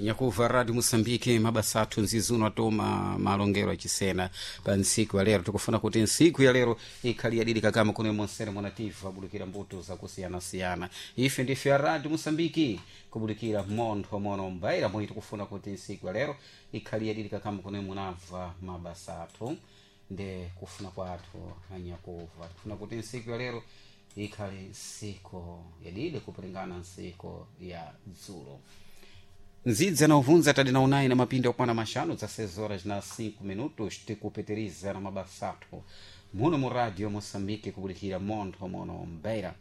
Nyakuva Radio Moçambique, mabasa athu nzizuno atoma malongero achisena pa ntsiku ya lero. Tikufuna kuti ntsiku ya lero ikhali yadidi kakama kuno monsere monativa abudukira mbuto zakusiyanasiyana. Ife ndife ya Radio Moçambique kubudikira montho mono mbaira mwe tikufuna kuti ntsiku ya lero ikhali yadidi kakama kuno munamva mabasa athu nde kufuna kwathu anyakuva. Tikufuna kuti ntsiku ya lero ikhali ntsiku yadidi kupulingana ntsiku ya dzulo. Nzidza na uvunza tadi na unai na mapindi okwana mashanu dza 6 horas na 5 minutos, tikupeteriza na mabasa athu muno mu Radio Moçambique kubulikira montho mono mbeira.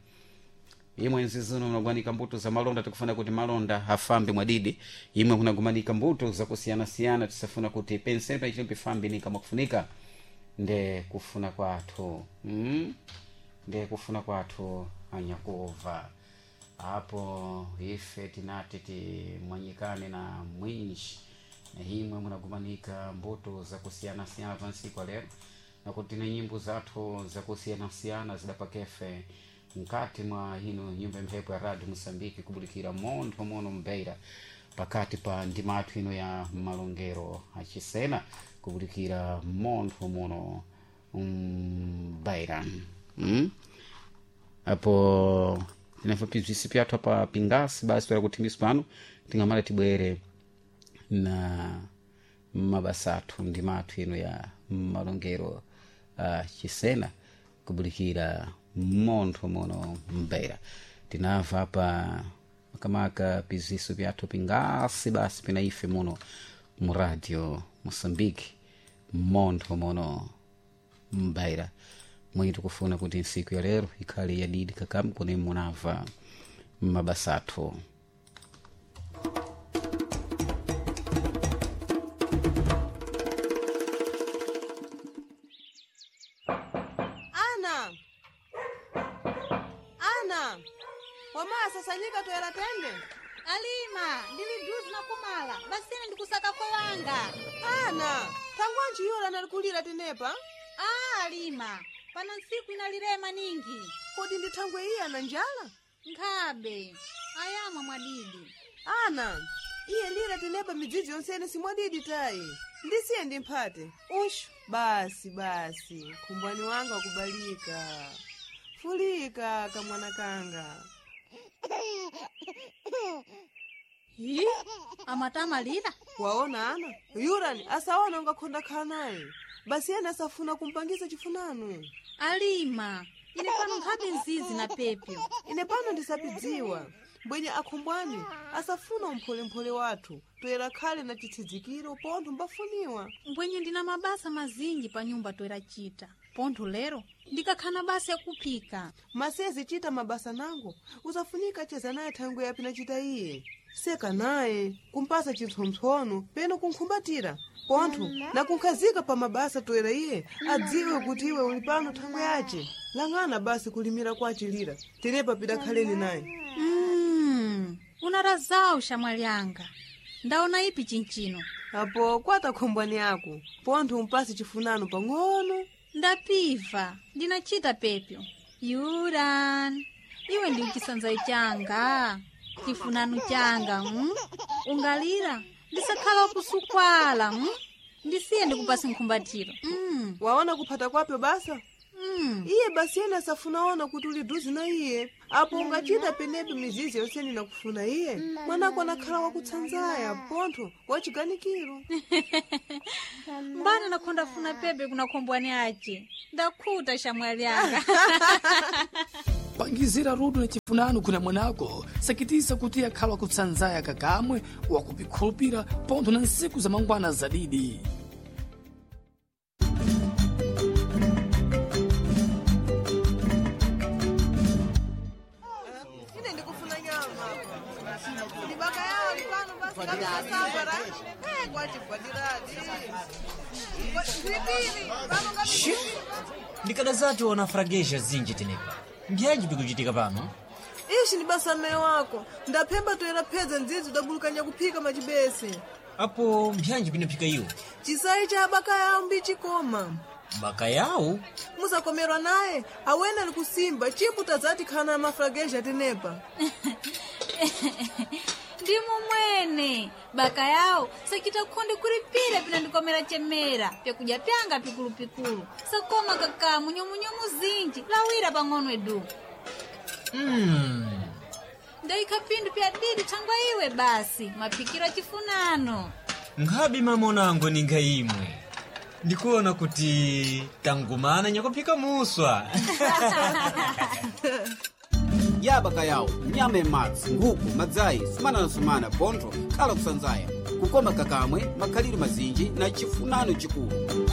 Imwe nzizuno munagwanika mbuto za malonda, tikufuna kuti malonda afambe mwadidi. Imwe kunagumanika mbuto zakusiyanasiyana, tisafuna kuti penseni pachino pifambe nika mwakufunika nde kufuna kwathu Nde kufuna kwathu anyakuva. Apo ife tinati timwanyikane na mwinji na imwe munagumanika mbuto zakusiyanasiyana pa ntsiku ya lero, nakuti na nyimbo zathu zakusiyanasiyana zidapakefe mkati mwa ino nyumba mphepo ya Radio Moçambique kubulikira montho mono mbeira pakati pa ndima athu ino ya malongero achisena kubulikira montho mono mbeira. Apo tinafo pibzisi pyathu apa pingasi basi toera kuthimbisi pano tingamala tibwere na mabasa athu ndima athu ino ya malongero chisena kubulikira montho mono mbeira. Tinamva apa makamaka piziso pyathu pingasi basi pina ife muno mu Radio Moçambique montho mono mbeira mwenye tikufuna kuti ntsiku ya lero ikhale yadidi kakamu kune munamva mabasa athu. Ana, ana, wamasasanyika toera tende. Alima, ndili duzi na kumala basine ndikusaka kwa wanga. Ana, thangwanji yura nalikulira tenepa? Ah, Alima, pano ntsiku inalirema ningi. Kodi ndi thangwe iye ana njala? Nkhabe ayamwa mwadidi. Ana, iye lira tenepa midzidzi yonsene simwadidi tayi. Ndisiye ndimphate. Ushu, basi basi, khumbwani wanga kubalika. Fulika kamwana kanga. Hi, amatamalira Waona ana, yurani asaona ungakhonda khala naye. Basi ena asafuna kumpangisa chifunano. Alima, ine pano nkhabe nzizi na pepyo. Ine pano ndisapidziwa mbwenye akhumbwani asafuna umpholemphole wathu toyera khale na chitsidzikiro pontho mbafuniwa. Mbwenye ndina mabasa mazinji pa nyumba toera chita pontho lero ndikakhana basa yakuphika. Masezi chita mabasa nango usafunika cheza naye thangwe yapi nachita iye seka naye kumpasa chipsompsono peno kunkhumbatira pontho nakunkhazika pa mabasa toera iye adziwe kuti iwe uli pano thangwe yace. Lang'ana basi kulimira kwachilira tenepa pidakhaleni naye. Unarazawu shamwali anga ndaona ipi chinchino. Apo kwata khombwani yako pontho umpase chifunano pang'ono. Ndapiva ndinachita pepyo. Yuran, iwe ndi chisanzayi changa chifunano changa Ungalira ndisakhala wakusukwala Ndisiye ndikupase nkhumbatiro Waona kuphata kwapyo basa. Iye basi yena asafunaona kuti uli duzi na iye. Apo ungachita penepo mizizi yonsene nakufuna iye mwanako anakhala wakutsanzaya pontho wachiganikiro. Mbana nakhonda funa pepe kuna khombwani ace ndakhuta shamwali anga. Pangizira rudo na chifunano kuna mwanako sakitisa kuti akhala wakutsanzaya kakamwe wakupikhulupira pontho na nsiku za mangwana zadidi. Ine ndikufuna nyama ndibaka yawo lipano basi kabisasambara kwachibwadiradi zipili pano. Shi! Ndikadazati ona frageja zinji tenepa mbyanji bikuchitika pano? Ishi ni basa mme wako ndaphemba toera phedza ndzidzi udabulukanya kuphika machibese. Apo mbyanji binaphika iwo? Chisayi cha abaka yawo mbichikoma. Baka yawo. Musakomerwa naye awene ali kusimba chiputa zati khana mafrageja tenepa. Ndi momwe. Nene baka yawo sachita khonde kulipira pinandikomera chemera pyakudya pyanga pikulupikulu sakoma kakamu nyomunyomu zinji lawira pang'ono edu ndaikha phindu pya didi thangwa iwe basi maphikiro achifunano. Nkhabe mamonango ninga imwe ndikuona kuti tangumana nyakuphika muswa. Yabaka yawo nyama imadzi, nkhuku, madzayi, sumana na sumana, pontho khala kusanzaya, kukoma kakamwe, makhalidwe mazinji na chifunano chikulu.